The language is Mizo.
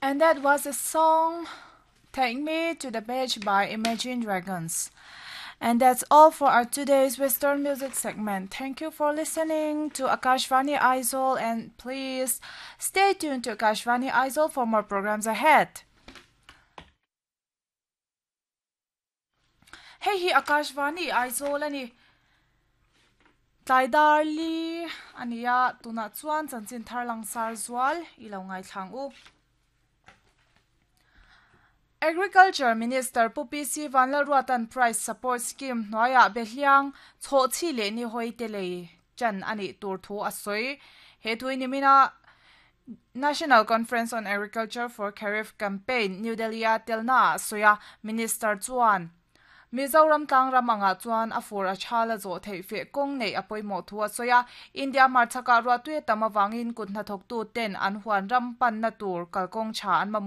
And that was a song Take Me to the Beach by Imagine Dragons. And that's all for our today's Western music segment. Thank you for listening to Akashvani Aizawl and please stay tuned to Akashvani Aizawl for more programs ahead. Hei hi Akashvani Aizawl a ni. Tlai dar li a ni a, tunah chuan chanchin thar langsar zual i lo ngaithlang u. Agriculture Minister Pu PC Vanlalruata'n Price Support Scheme hnuaiah behliang chhawh chhi leh ni hawi te lei chan a nih tur thu a sawi. He thu hi nimina National Conference on Agriculture for Kharif Campaign, New Delhi-a telnaah a sawi a, Minister chuan, Mizoram tlangram angah chuan a fur a tha la zawh theih feh kawng neih a pawimawh thu a sawi a, India hmarchhakah ruahtui a tam avangin kut hnathawktu ten an huan ram panna tur kalkawng tha an mamawh.